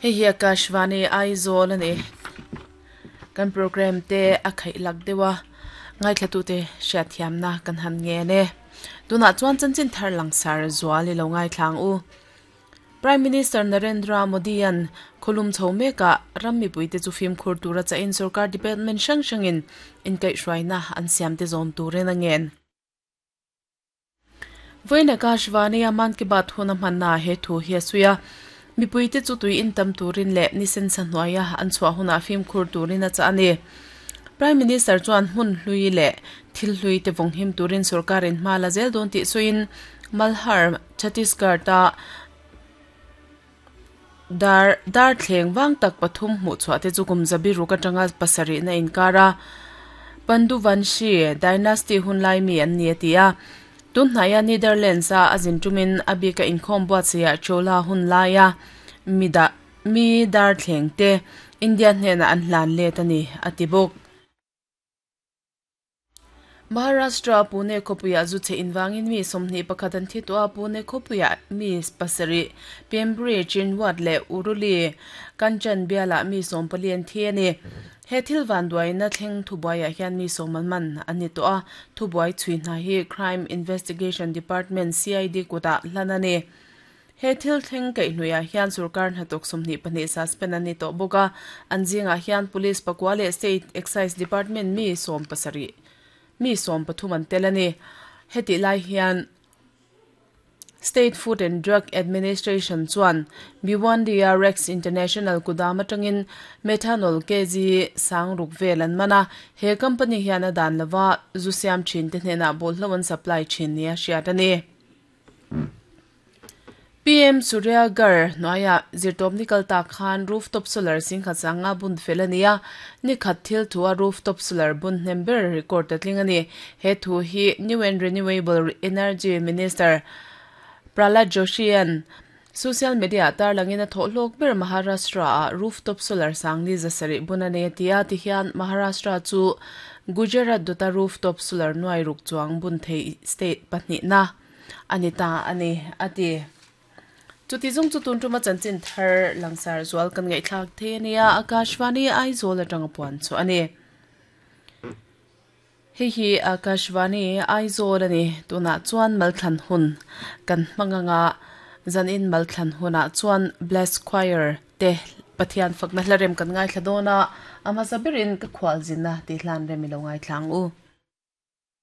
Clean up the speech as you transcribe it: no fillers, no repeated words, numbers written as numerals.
Hei hi Akashvani Aizawl a ni. Kan program te a khaih lak deuh a, ngaithlatute hriatthiamna kan han ngen e. Tunah chuan chanchin thar langsar zual i lo ngaithla ang u. Prime Minister Narendra Modi-a'n khawlum chho mekah ram mipuite chu fimkhur tura chahin sorkar department hrang hrangin inkaihhruaina an siamte zawm turin a ngen. Vawiin Akashvani-a Mann Ki Baat hun a hmannaah he thu hi a sawi a, mipuite chu tui intam turin leh ni sensa hnuaia an chhuah hunah fimkhur turin a chah a ni. Prime Minister chuan hmun hlui leh thil hlui te vawnghim turin sorkarin hma la zel dawn tih sawiin Malhar, Chhattisgarh-a dar darthleng vang tak pathum hmuhchhuah te chu kum zabi ruk atanga pasarihna inkar a Panduvanshi dynasty hun lai mi an ni a ti a. Tun hnaia Netherlands-a a zin tumin a bika inkhawm buatsaihah Chola hun laia mi dah mi darthleng te India hnenah an hlan let a ni a ti bawk. Maharashtra Pune khawpuiah zu chhe invangin mi 21 an thi tawh a, Pune khawpuiah mi pasarih, Pembrey, Chinwad leh Uruli, Kanchan bialah mi 14 an thi a ni. He thil vanduaina thleng thubuaiah hian mi sawm an man an ni tawh a, thubuai chhui hna hi Crime Investigation Department, CID, kutah hlan a ni. He thil thleng kaihhnuiah hian sorkar hnathawk 22 suspend an ni tawh bawk a, an zingah hian Police pakua leh State Excise Department mi 70 mi 13 an tel a ni. Hetih lai hian State Food and Drug Administration chuan Bhiwandi-a Rex International kudam atangin methanol kg sang ruk vel an man a, he company hian a dan lova zu siam thin te hnenah bawlhlo an supply thin nia hriat a ni. PM Surya Ghar hnuaiah zirtawp ni kal tak khan rooftop solar singkhat sanga bun fel a ni a, ni khat thil thu a rooftop solar bun hnem ber record a tling a ni. He thu hi New and Renewable Energy Minister Prahlad Joshi-a'n social media-ah tarlangin a thawh hlawk ber Maharashtra-ah rooftop solar sang ni 700 bun a nei a ti a, tihian Maharashtra chu Gujarat dawta rooftop solar nuai ruk chuang bun thei state pahnihna a ni ta a ni, a ti. Chuti zawng chu tun tuma chanchin thar langsar zual kan ngaihthlak thei a nia, Akashvani Aizawl atanga puan chu a ni. Hei hi Akashvani Aizawl a ni. Tunah chuan malthlan hun kan hmang anga zanin malthlan hunah chuan Bless Choir te Pathian fakna hla rem kan ngaithla dawn a, a hmasa berin ka khualzinna tih hlan rem i lo ngaithla ang u.